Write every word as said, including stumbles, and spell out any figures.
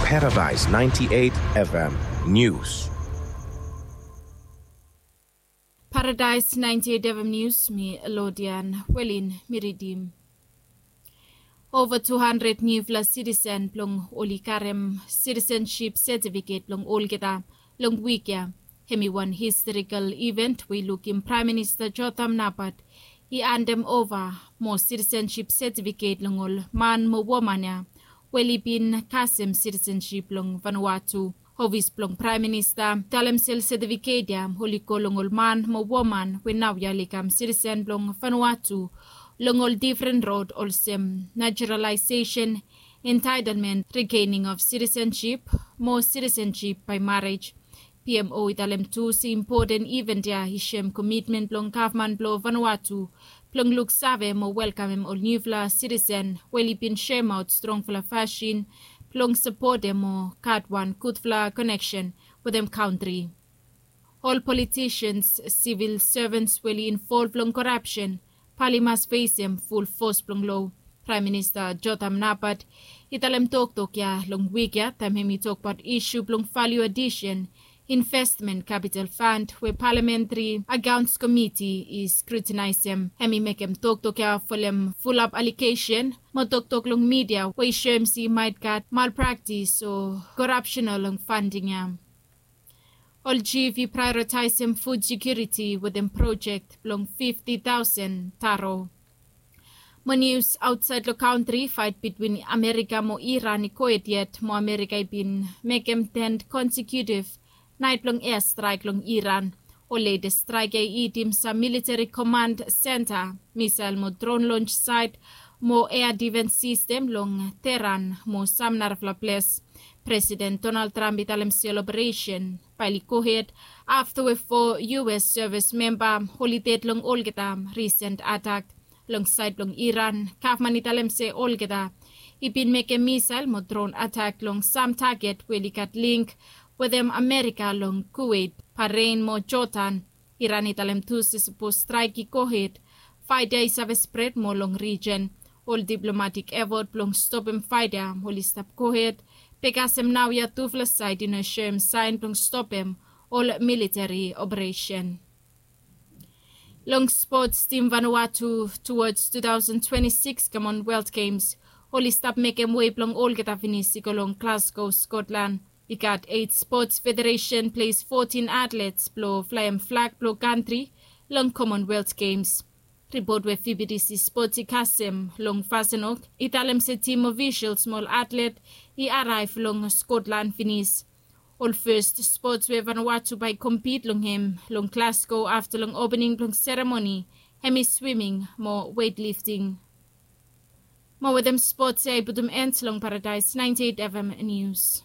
Paradise ninety-eight F M News. Paradise ninety-eight F M News, mi Lodian Welin mi ridim. Ova tu handred niufala sitisen blong oli karem sitisenship setifiket blong olgeta long wik ya. Hemi wan historikal iven we i lukim Praem Minista Jotham Napat i handem ova mo sitisenship setifiket long ol man mo woman ya we oli bin kasem sitisenship long Vanuatu. Ofis blong Praem Minista i talem se ol setifiket ya oli go long ol man mo woman we naoia oli kam sitisen blong Vanuatu long ol difren rod olsem naturalisation, entitlement, regaining of citizenship mo citizenship by marriage. P M O i talem tu se impoten iven ya i soem komitmen blong gavman blong Vanuatu blong luksave mo welkamem ol niufala sitisen we oli bin soemaot strongfala fasin blong sapotem mo gat wan gudfala koneksen wetem kantri. Ol politisians, sivil sevens we oli involv long korapsen bae oli mas fesem ful fos blong loa. Praem Minista Jotham Napat i talem toktok ya long wik ya taem hemi tokbaot isu blong value addition investment capital fund we Parliamentary Accounts Committee i skrutinaesem. Hemi mekem toktok ya folem fulap alegesen mo toktok long midia we i soem se i maet gat malpraktis o korapsen long fanding ya. Ol jif i praeoritaesem fud sekiuriti wetem projek blong fifti taosen taro. Mo nius aotsaed long kantri, faet bitwin Amerika mo Iran i gohed yet mo Amerika i bin mekem ten konsekutif naet blong eastraek long Iran. Ol letes straek ya i itim sam militeri komand senta, misael mo dron lons saet mo ea difens sistem long Tehran mo sam narafala ples. Presiden Donald Trump i talem se ol operesen bae oli gohed afta we fo U S sevis memba oli ded long olgeta risen atak. Long saed blong Iran, gavman i talem se olgeta i bin mekem misael mo dron atak long sam taget we oli gat link wetem Amerika long Kuweit, Bahrain mo Jordan. Iran i talem tu se sapos straek i gohed, faet ya i save spred moa long rijen. Ol diplomatik efot blong stopem faet ya oli stap gohed, be kasem naoia tufala saed i no soem saen blong stopem ol militeri operesen. Long spots, tim Vanuatu towards two thousand twenty-six Commonwealth Games oli stap mekem wei blong olgeta finis i go long Glasgow, Scotland. I gat eit spots federesen ples fotin atlets blong flaem flag blong kantri long Commonwealth Games. Ripot we V B T C Spots i kasem long Fasenok i talem se tim ofisals mo ol atlet i araev long Scotland finis. Ol fes spots we Vanuatu bae i kompit long hem long Glasgow afta long opening blong seremoni hemi swiming mo weightlifting. Mo wetem spots ya i putum end long Paradise ninety-eight F M News.